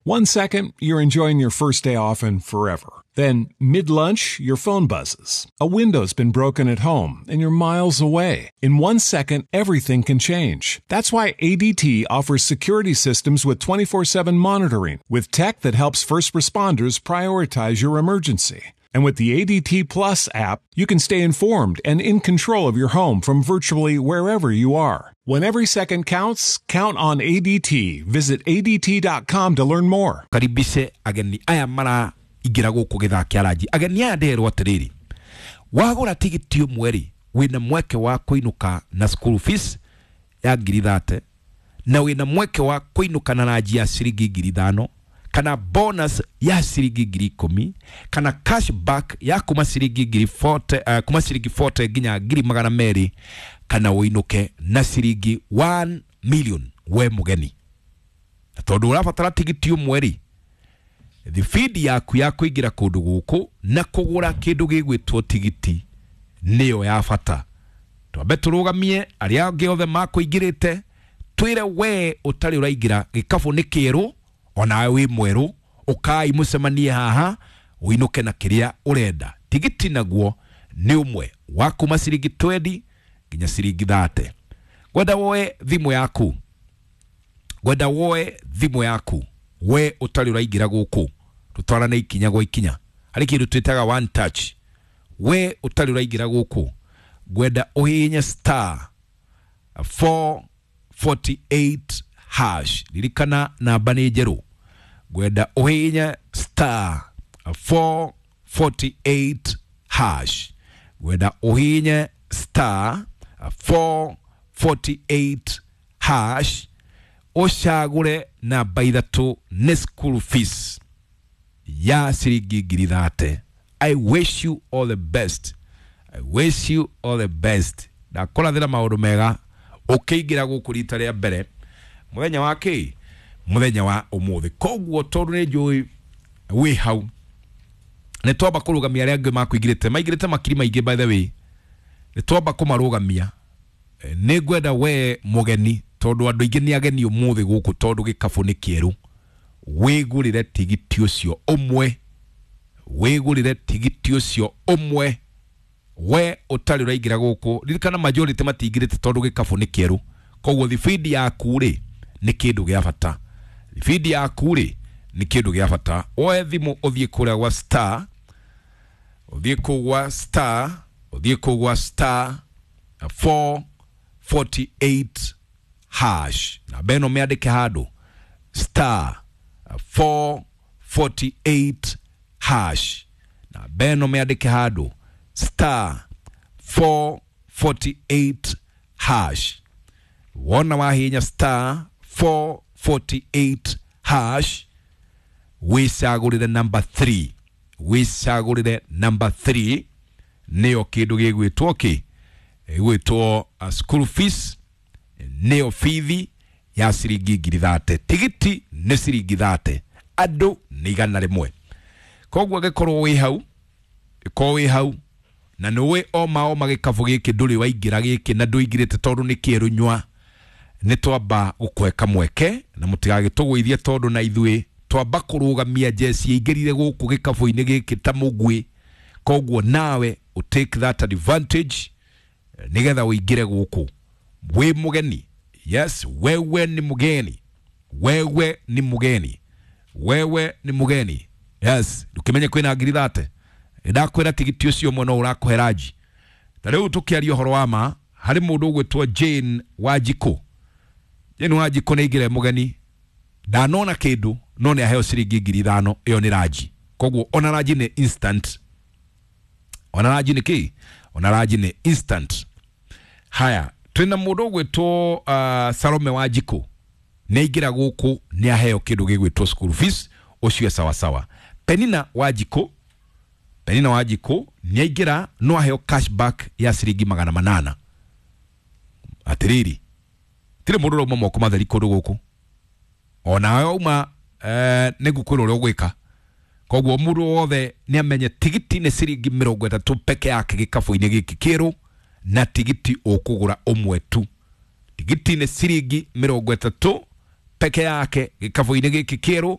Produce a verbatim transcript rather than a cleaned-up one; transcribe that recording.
One second, you're enjoying your first day off and forever. Then, mid-lunch, your phone buzzes. A window's been broken at home, and you're miles away. In one second, everything can change. That's why A D T offers security systems with twenty-four seven monitoring, with tech that helps first responders prioritize your emergency. And with the A D T Plus app, you can stay informed and in control of your home from virtually wherever you are. When every second counts, count on A D T. Visit A D T dot com to learn more. Karibishe ageni aya mara igira guku githaa kia ranji. Ageni aya nderwo atiriri, wagura tigiti umwe ri wina mweke wa kuinuka na school fees ya ngiri thate, na wina mweke wa kuinuka na ranji ya ciringi ngiri ithano, kana bonus ya ciringi ngiri ikumi, kana cashback ya kuma ciringi ngiri forty, uh, kuma ciringi forty nginya ngiri magana meri, kana uinuke na ciringi one million we mugeni. Na tondu urabatara tigiti umwe ri, thibindi yaku ya kuingira kundu guku na kugura kindu gigwitwo tigiti niyo ya bata. Twambe turugamie aria angi othe makuingirite, twire we utari uraingira gikabu ni kieru, onawe wi mweru, ukai mucemanie haha uinuke na kiria urenda. Tigiti naguo ni umwe wa kuma ciringi twenty nginya ciringi thirty. Ngwenda woe thimu yaku, ngwenda woe thimu yaku we utari uraingira guku, tutwarane ikinya gwa ikinya hari kindu twitaga one touch. We utari uraingira guku, ngwenda uhihinye star four forty-eight hash. Ririkana namba ni njeru. Ngwenda uhihinye star four forty-eight hash. Ngwenda uhihinye star four forty-eight hash, ucagure namba ithatu ni school fees ya ciringi ngiri thate. I wish you all the best. I wish you all the best. Ndakũrathĩra maũndũ mega ũkĩingĩra gũkũ rita rĩa mbere muthenya wa kĩ, muthenya wa ũmũthĩ. Koguo tondu nĩ njũĩ wĩ hau, nĩ twamba kũrũgamia arĩa angĩ makũingĩrĩte, maingĩrĩte makiri maingĩ by the way, nĩ twamba kũmarũgamia. Nĩ ngwenda we mũgeni, tondu andũ aingĩ nĩ ageni ũmũthĩ gũkũ, tondu gĩkabũ nĩ kĩerũ, wĩgũrĩre tigiti ũcio ũmwe, wĩgũrĩre tigiti ũcio ũmwe we ũtarĩ ũraingĩra gũkũ. Ririkana majority matingĩrĩte tondu gĩkabũ nĩ kĩerũ. Koguo thibindi yaku rĩ nĩ kĩndũ gĩa bata, thibindi yaku rĩ nĩ kĩndũ gĩa bata. Woe thimũ ũthiĩ kũrĩa gwa star, ũthiĩ kũu gwa star, ũthiĩ kũu gwa star four forty-eight hash. Namba ĩno mĩandĩke handũ, star four forty-eight hash. Namba ĩno mĩandĩke handũ, star four forty-eight hash. Wona wahinya star four forty-eight hash, wicagũrĩre number three, wicagũrĩre number three nĩyo kĩndũ gĩgwĩtwo kĩ, gĩgwĩtwo school fees, nĩyo bithi ya ciringi ngiri thate. Tigiti nĩ ciringi thate, andũ nĩ igana rĩmwe. Koguo angĩkorwo wĩ hau, ĩkorwo wĩ hau na nĩũĩ oma oma gĩkabũ gĩkĩ ndũrĩ waingĩra gĩkĩ na ndũingĩrĩte tondũ nĩ kĩerũ nyua, nĩ twamba gũkũhe kamweke na mũtigagĩtũgũithie, tondũ na ithuĩ twamba kũrũgamia njeci ĩingĩrire gũkũ gĩkabũ-inĩ gĩkĩ ta mũguĩ. Koguo nawe ũ take that advantage nĩgetha ũingĩre gũkũ wĩ mũgeni. Yes, wewe ni mgeni, wewe ni mgeni, wewe ni mgeni. Yes, ndũkĩmenye kwĩna ngiri thate, ndakwĩra tigiti ũcio ũmwe no ũrakũhe ranji. Ta rĩu tũkĩaria ũhoro wa ma, harĩ mũndũ ũgwĩtwo Jane Wanjikũ. Jane Wanjikũ nĩ aingĩre mũgeni, ndanona kĩndũ no nĩ aheo ciringi ngiri ithano, ĩyo nĩ ranji. Koguo ona ranji nĩ instant, ona ranji nĩ kĩ, ona ranji nĩ instant. Haya, twĩna mũndũ ũgwĩtwo uh, Salome Wanjikũ, nĩ aingĩra gũkũ nĩ aheo kĩndũ gĩgwĩtwo school fees, ũcio sawa sawa. Penina Wanjikũ, Penina Wanjikũ nĩ aingĩra no aheo cashback ya ciringi magana manana. Atiriri, tirĩ mũndũ ũrauma moko matheri kũndũ gũkũ, onawe wauma eh, nĩ ngũkwĩra ũrĩa ũgwĩka. Koguo mũndũ wothe nĩ amenye tigiti nĩ ciringi mĩrongo ĩtatũ peke yake gĩkabũ-inĩ gĩkĩ kĩerũ, na tigiti ũkũgũra ũmwe tu. Tigiti nĩ ciringi mĩrongo ĩtatũ peke yake gĩkabũ-inĩ gĩkĩ kĩerũ,